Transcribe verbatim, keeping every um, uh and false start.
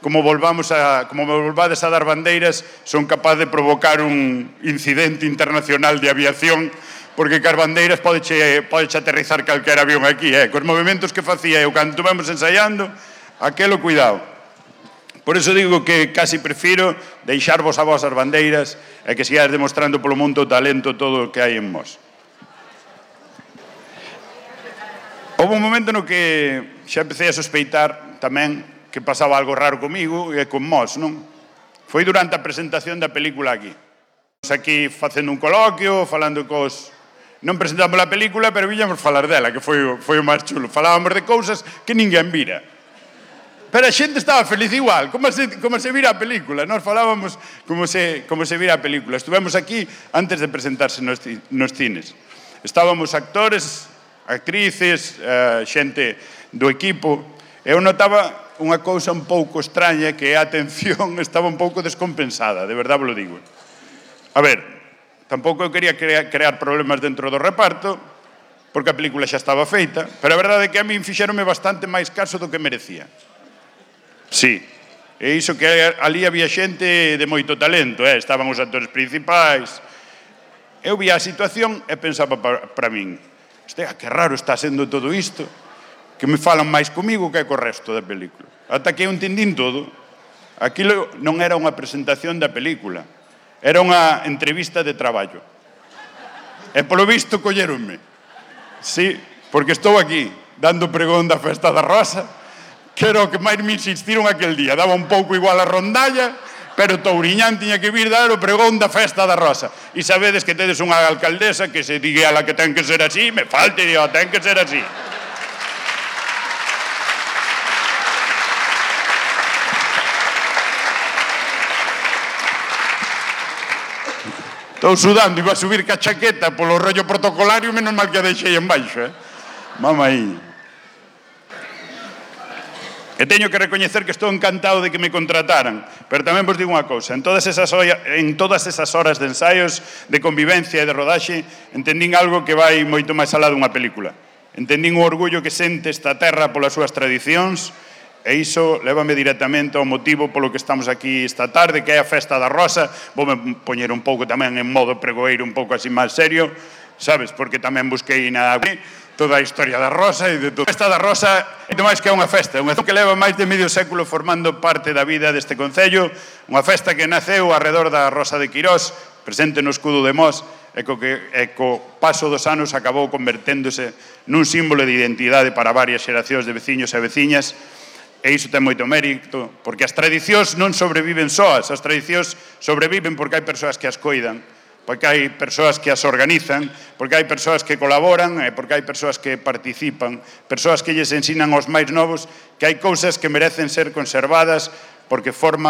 como volvamos a, como volvades a dar bandeiras, son capaz de provocar un incidente internacional de aviación, porque cas bandeiras podeche, podeche aterrizar calquer avión aquí, eh? Cos movimentos que facía eu cando estuvemos ensaiando, aquelo cuidado. Por iso digo que casi prefiro deixarvos a vosas bandeiras e que sigades demostrando polo mundo o talento todo o que hai en vos. Houve un momento no que xa empecé a sospeitar tamén que pasaba algo raro comigo e con vos, non? Foi durante a presentación da película aquí. Estamos aquí facendo un coloquio, falando cos... Non presentamos a película, pero viñamos falar dela, que foi, foi o máis chulo. Falábamos de cousas que ninguén vira. Pero a xente estaba feliz igual, como se, como se vira a película. Nós falábamos como se, como se vira a película. Estuvemos aquí antes de presentarse nos, nos cines. Estábamos actores, actrices, uh, xente do equipo. Eu notaba unha cousa un pouco extraña, que a atención estaba un pouco descompensada, de verdade vos lo digo. A ver, tampouco eu quería crear, crear problemas dentro do reparto, porque a película xa estaba feita, pero a verdade é que a min fixeronme bastante máis caso do que merecía. Sí, e iso que ali había xente de moito talento, eh? Estaban os actores principais. Eu via a situación e pensaba para, para min, hostia, que raro está sendo todo isto, que me falan máis comigo que co resto da película. Ata que eu entendín todo. Aquilo non era unha presentación da película, era unha entrevista de traballo. E polo visto colleronme. Sí, porque estou aquí, dando pregón da Festa da Rosa, que era o que máis me insistiron aquel día. Daba un pouco igual a rondalla, pero Touriñán tiña que vir dar o pregón da Festa da Rosa. E sabedes que tedes unha alcaldesa que se digue a la que ten que ser así, me falte, digo, ten que ser así. Estou sudando, iba a subir ca chaqueta polo rollo protocolario, menos mal que a deixei en baixo, eh? Vamos aí. E teño que recoñecer que estou encantado de que me contrataran, pero tamén vos digo unha cousa, en todas esas, en todas esas horas de ensaios, de convivencia e de rodaxe, entendín algo que vai moito máis alá dunha película. Entendín o orgullo que sente esta terra polas súas tradicións, e iso lévame directamente ao motivo polo que estamos aquí esta tarde, que é a Festa da Rosa. Voume poñer un pouco tamén en modo pregoeiro, un pouco así máis serio, sabes, porque tamén busquei na toda a historia da Rosa e de todo. A Festa da Rosa é máis que unha festa, unha festa que leva máis de medio século formando parte da vida deste concello, unha festa que naceu arredor da Rosa de Quirós, presente no escudo de Mos, e co, que, e co paso dos anos acabou converténdose nun símbolo de identidade para varias xeracións de veciños e veciñas. E iso ten moito mérito, porque as tradicións non sobreviven soas, as tradicións sobreviven porque hai persoas que as coidan, porque hai persoas que as organizan, porque hai persoas que colaboran e porque hai persoas que participan, persoas que lles ensinan aos máis novos que hai cousas que merecen ser conservadas porque forman